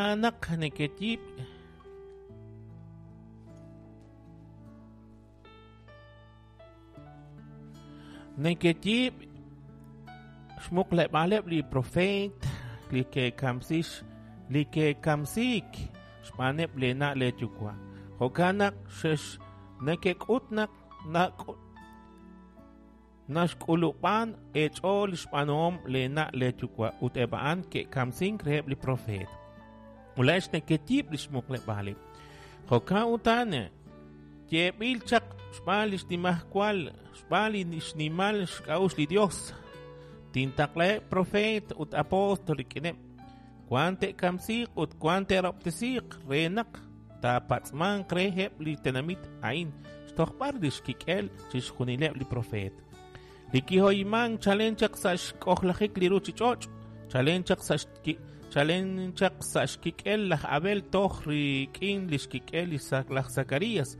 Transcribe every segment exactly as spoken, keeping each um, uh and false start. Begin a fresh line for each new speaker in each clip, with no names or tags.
Naq nekeyiib' nekeyiib' xmuqleb'aaleb' li profeet li ke'kamsix li ke'kamsiik xb'aaneb' leena' leeyuwa'. Jo'kan naq xex nekek'ut naq naxk'ulub'an eech'ool xb'aanuhom leena' leeyuwa' ut eb' a'an ke'kamsink reheb' li profeet. Ulax nekeyiib' li xmuqleb'aaleb'. Jo'kan utan yeeb'il chaq xb'aan li xnimajwal xb'aan li xnimal xk'a'uxl li Dios. Tintaqlaheb' profeet ut apóstol rik'ineb'. Wan te'kamsiiq ut wan te'rob'tesiiq re naq taapatz'manq reheb' li tenamit a'in xtojb'al li xkik'el chixjunileb' li profeet. Li kihoymank chalen chaq sa' xk'ojlajik li ruuchich'och', chalen chaq sa' chalen chaq sa' xkik'el laj Abel toj rik'in li xkik'el li laj Zacarías,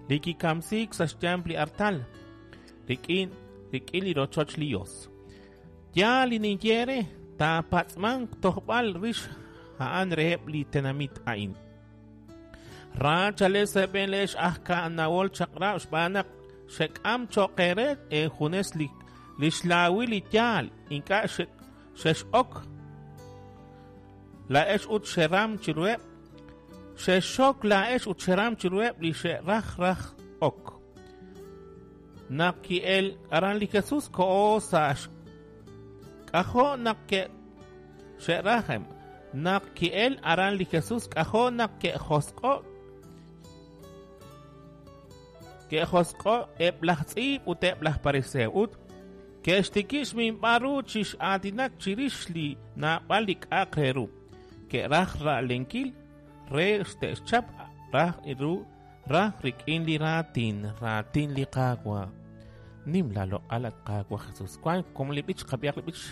li kikamsiik sa' xyanq li artal, rik'in rik'in li rochoch li Dios. Yaal li ninye re, taapatz'manq tojb'al rix a'an reheb' li tenamit a'in. Ra chalen sa' b'een leex aj ka'anawol chaq'rab' xb'aan naq xek'am cho'q eere eejunes li li xlaawil li yaal ink'a' xex'ok laa'ex ut xeram chiruheb' xexxok laa'ex ut xeram chiruheb' li xe'raj raj ok. Naq ki'el aran li Jesús ko'o sa' k'ajo' naq ke'xe'rajem naq ki'el aran li Jesús k'ajo' naq ke'josq'o' ke'josq'o' eb' laj tz'iib' ut eb' laj fariseo ut ke'xtikib' xminb'al ru chi x'aatinak chirix li naab'al li k'a'aq re ru. Ke'raj ra'lenkil re te'xchap raj ru raj rik'in li raatin raatin li Qaawa'. Nim la loq'al at Qaawa' Jesús. Wan kom li b'ich qab'ihaq li b'ich.